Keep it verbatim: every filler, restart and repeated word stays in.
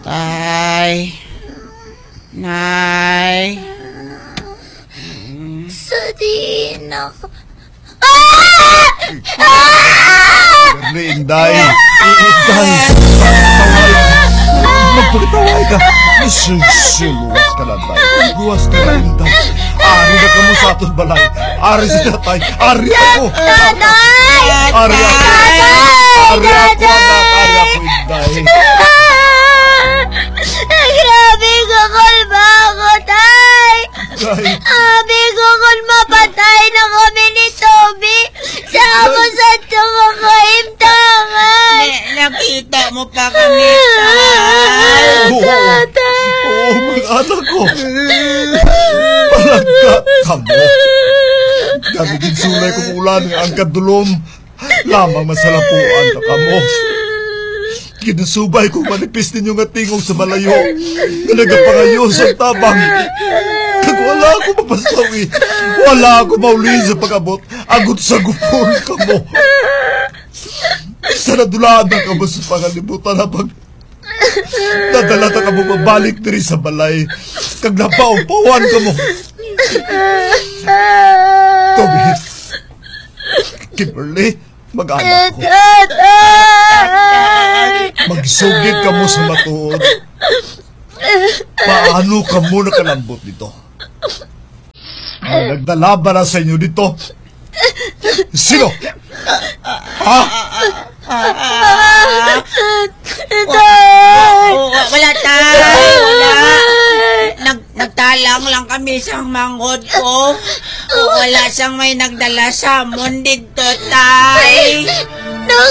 Tay. Nay. Sa diin ako. Ah! Ah! Inday. Inday. Magpakitaway ka. Sus, luwas ka na, Day. Luwas ka na, Inday. Ari na kamo sa aton balay. Ari si Tatay. Ari ako. Tatay! Ari ako. Tatay! Ari ako, Tatay! Anak. Ari ako, Inday. Grabe ka, kalma ako, Tay! Day. Abi ko kon mapatay na kami ni Toby. Sa amo sa ito nga kaimtangan. Ni-, nakita mo pa kami, Tay. Oo. Tatay. Oo, mga anak ko. Palagkat kamo. Kami ginsulay kong ulan nga ang kadulom. Lamang masalapuan na kamo. Ginasubay kong manipis ninyo nga tingog sa malayo, nga nagapangayo sa tabang. Kag wala ako mapasawi, wala ako mauli sa pag-abot, agod sa gupon kamo. Sa nadulaan na kamo sa pangalibutan, habang nadala na kamo mabalik diri sa balay, kag napaupawan kamo. Toby, Kimberly, mag-anak ko. Tatay! Magsugid kamo sa matuod. Paano kamo nakalambot dito? May nagdala ba na sa inyo dito? Sino? Ha? Ah, ah, ah, ah. Wa-, wa-, wa-, wala, Tay. Wala. Nag-, nagtalang lang kami sa manghod ko. Wala sang may nagdala sa amon dito, Tay.